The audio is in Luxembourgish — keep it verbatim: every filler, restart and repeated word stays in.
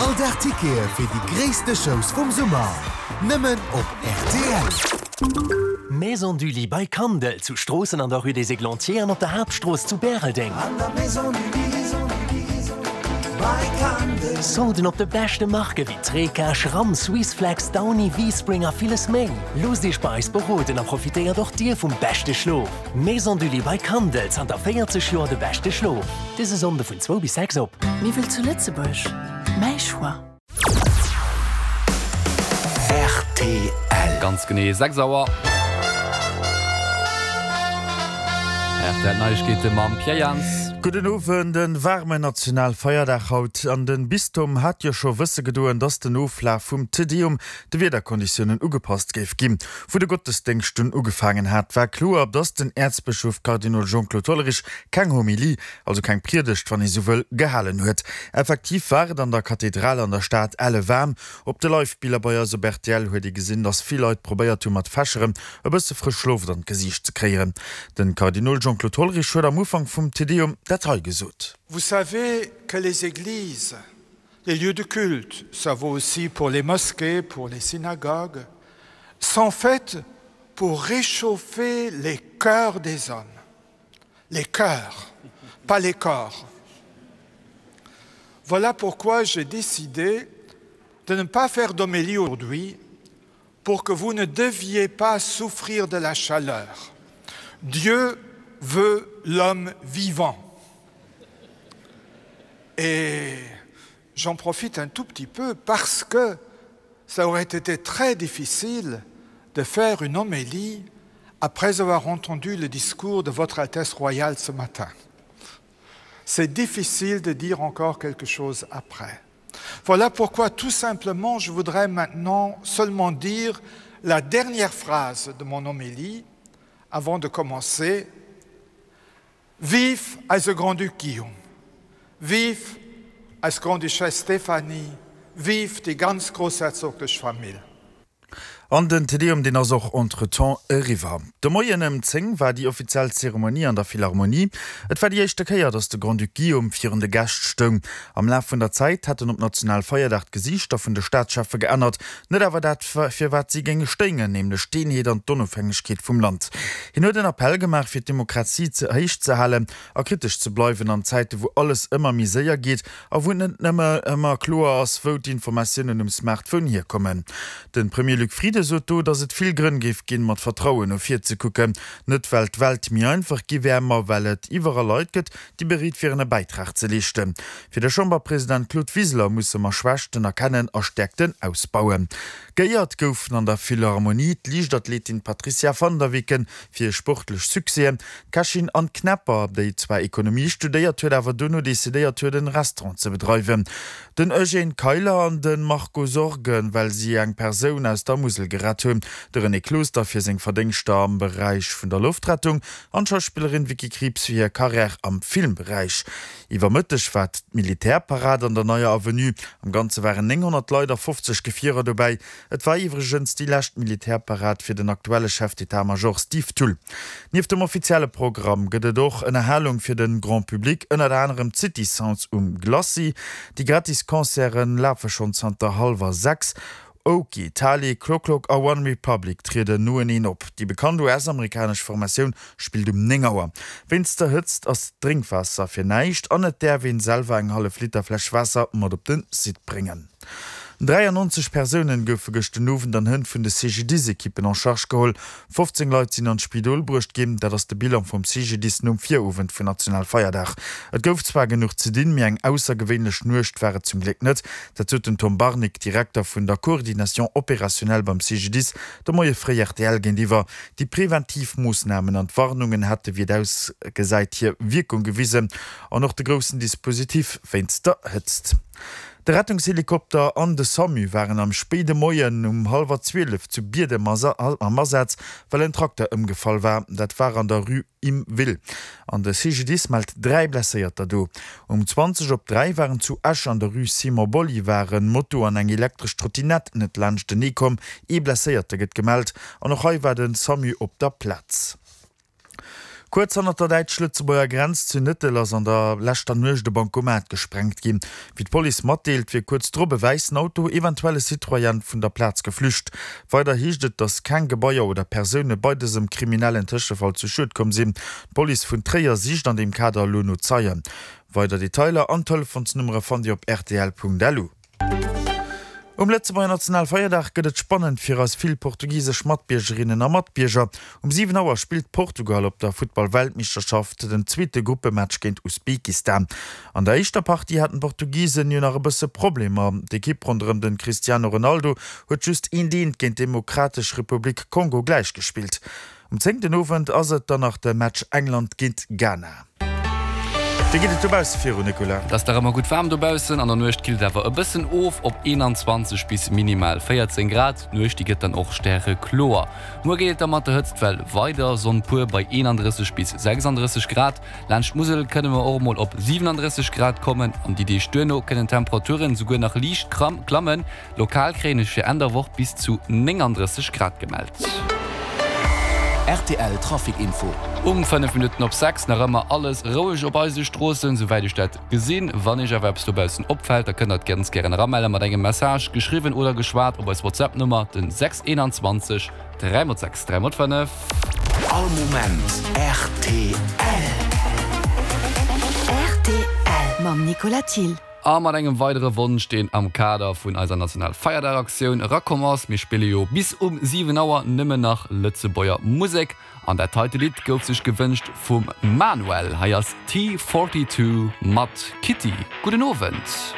All Dag Tickete fir déi gréisste Shows vum Summer. Nëmmen op rtl. Maison du Lit by Kandel zu Stroossen an der Rue des Églantiers an op der Haaptstrooss zu Bäreldeng. Solden op de beschte Marke wéi Treca, Schramm, Swissflex, Downy, V-Spring a villes méi. Loosst Iech bei eis beroden a profitéiert och Dir vum beschte Schlof. Maison du Lit by Kandel, zanter véierzeg Joer de beschte Schlof. Dëse Sonnde vun zwou bis sechs op. Miwwel zu Lëtzebuerg, mäi Choix. Rtl. Ganz genee sechs Auer. Rtl Neiegkeete mam Pierre Jans. Gudden Owend, En waarmen Nationalfeierdag haut an den Bistum hat jo scho wësse gedoen, dass den Oflaf vum Te Deum de Wiederkonditiounen ugepasst géif ginn. Wou de Gottesdéngscht dunn ugefaangen hat, war kloer, dass den Äerzbëschof Kardinol Jean-Claude Hollerich keng Homilie, also keng Priedegt, wann ee sou wëll, gehalen huet. Effektiv war et an der Kathedral an der Stad elle waarm. Op de Live-Biller bei eis op rtl huet ee gesinn, dass vill Leit probéiert hu mat Fächeren e bësse frësch Loft an d'Gesiicht ze kréieren. Den Kardinol Jean-Claude Hollerich huet am Ufank vum Te Deum dat hei gesot. Vous savez que les églises, les lieux de culte, ça vaut aussi pour les mosquées, pour les synagogues, sont faites pour réchauffer les cœurs des hommes. Les cœurs, pas les corps. Voilà pourquoi j'ai décidé de ne pas faire d'homélie aujourd'hui pour que vous ne deviez pas souffrir de la chaleur. Dieu veut l'homme vivant. Et j'en profite un tout petit peu parce que ça aurait été très difficile de faire une homélie après avoir entendu le discours de votre Altesse royale ce matin. C'est difficile de dire encore quelque chose après. Voilà pourquoi tout simplement je voudrais maintenant seulement dire la dernière phrase de mon homélie avant de commencer. Vive eise Grand-Duc Guillaume, vive eis Grande-Duchesse Stéphanie, vive déi ganz groussherzoglich Famill. An den Te Deum, deen ass och entretemps eriwwer. De Moien ëm zéng war déi offiziell Zeremonie an der Philharmonie. Et war déi éischte Kéier, datt de Grand-Duc Guillaume virun de Gäscht stoung. Am Laf vun der Zäit hätten op Nationalfeierdag d'Gesiichter vun de Staatscheffe geännert, net awer dat, fir wat si géinge stéingen, nämlech d'Eenheet an d'Onofhängegkeet vum Land. Hien huet en Appell gemaach, fir d'Demokratie ze héich ze halen a kritesch ze bleiwen an Zäite wou alles ëmmer méi séier geet a wou et net nëmme ëmmer kloer ass, wou d'Informatiounen um Smartphone hierkommen. De Premier Luc Frieden sot do, datt et vill Grënn géif ginn, mat Vertrauen no vir ze kucken. Net well d'Welt méi einfach gi wär, ma well et iwwerall Leit gëtt, déi bereet wieren e Bäitrag ze leeschten. Fir de Chamberpresident Claude Wiseler musse mer Schwächten erkennen a Stäerkten ausbauen. Geéiert goufen an der Philharmonie d'Liichtathletin Patricia van der Weken fir hir sportlech Succèsen, d'Kächin Anne Knepper, déi zwar Ekonomie studéiert huet, awer dono decidéiert huet en Restaurant ze bedreiwen, den Eugène Keiler an de Marco Sorgen, well si eng Persoun aus der Musel gerett hunn, de René Closter fir seng Verdéngschter am Beräich vun der Loftrettung an d'Schauspillerin Vicky Krieps fir hir Karriär am Filmberäich. Iwwer Mëtteg war d'Militärparad an der Neier Avenue. Am Ganze waren nénghonnert Leit a fofzeg Gefierer dobäi. Et war iwwregens déi lescht Militärparad fir den aktuelle Chef d'état-major Steve Thull. Nieft dem offizielle Programm gëtt et och Ënnerhalung fir de Grand Public, ënnert anerem d'City Sounds um Glacis. Déi gratis Concerte lafe schonn zanter hallwer sechs. Oki, Tali, Clock a One Republic trieden noeneen op. Déi bekannt U S-amerikanesch Formatioun spillt um néng Auer. Wéinst der Hëtzt ass d'Drénkwaasser fir näischt an et däerf een selwer eng hallef Liter Fläsch Waasser mat op de Site bréngen. dräiannonzeg Persounen goufe gëscht den Owend an Hënn vun de C G D I S-Ekippen en charge geholl. fofzéng Leit sinn an d'Spidol bruecht ginn. Dat ass de Bilan vum C G D I S nom Virowend vun Nationalfeierdag. Et gouf zwar genuch ze dinn, mee eng aussergewéinlech Nuecht war et zum Gléck net. Dat sot den Tom Barnig, Direkter vun der Coordination opérationnelle beim C G D I S, de Moie fréi R T L géintiwwer. Déi preventiv Moossnamen an d'Warnungen hätte wéi et ausgesäit hir Wierkung gewisen an och de groussen Dispositif wéinst der Hëtzt. De Rettungshelikopter an de SAMU waren am spéide Moien um hallwer zwielef zu Biedem am Asaz, well en Trakter ëmgefall war. Dat war an der Rue Im Will. An de C G D I S mellt dräi Blesséierter do. Um zwanzeg op dräi waren zu Esch an der Rue Simon Bolivar en Moto an eng elektresch Trottinett net laanschtenee komm. Ee Blesséierte gëtt gemellt an och hei war de SAMU op der Plaz. Kuerz hannert der däitsch-lëtzebuerger Grenz zu Nëttel ass an der leschter Nuecht e Bankomat gesprengt ginn. Wéi d'Police matdeelt, wier kuerz drop e wäissen Auto, eventuell e Citroën, vun der Plaz geflücht. Weider heescht et, datt keng Gebaier oder Persoune bei dësem kriminellen Tëschefall zu Schued komm sinn. D'Police vun Tréier sicht an deem Kader elo no Zeien. Weider Detailer an Telefonsnummere fannt Dir op rtl.lu. Um Lëtzebuerger Nationalfeierdag gëtt et spannend fir eis vill portugisesch Matbiergerinnen a Matbierger. Um siwen Auer spillt Portugal op der Futtball-Weltmeeschterschaft den zweete Gruppematch géint Usbekistan. An der éischter Partie haten d'Portugisen jo nach e bësse Problemer. D'Ekipp ronderëm den Cristiano Ronaldo huet just eent eent géint d'Demokratesch Republik Kongo gläichgespillt. Um zéng den Owend ass et dann nach de Match England géint Ghana. Wéi geet et dobausse virun, Nicolas? Et ass nach ëmmer gutt waarm dobaussen, an der Nuecht killt et awer e bëssen of op eenanzwanzeg bis minimal véierzéng Grad. D'Nuecht déi gëtt dann och stärekloer. Muer geet et da mat der Hëtztwell weider, Sonn pur bei eenandrësseg bis sechsandrësseg Grad. Laanscht d'Musel kënne mer och emol op siwenandrësseg Grad kommen an déi Deeg duerno kënnen d'Temperaturen esouguer nach liicht klammen. Lokal kréien ech fir Enn der Woch bis zu néngandrësseg Grad gemellt. Rtl Trafic Info. Um fënnef Minutten op sechs, nach ëmmer alles roueg op eise Stroossen, souwäit ech dat gesinn. Wann Iech awer eppes dobaussen opfält, da kënnt der et ganz gären eramelle mat engem Message, geschriwwen oder geschwat, op eis WhatsApp-Nummer, den sechs eenanzwanzeg dräi mol sechs dräi mol fënnef. All Moment rtl. Rtl mam Nicolas Thill. A mat engem weidere Wonsch, deen am Kader vun eiser Nationalfeierdag-Aktioun erakomm ass, Mir spille jo bis um siwen Auer nëmmen nach Lëtzebuerger Musek. An dat heite Lidd gouf sech gewënscht vum Manuel. Hei ass T Forty Two mat Kitty. Gudden Owend.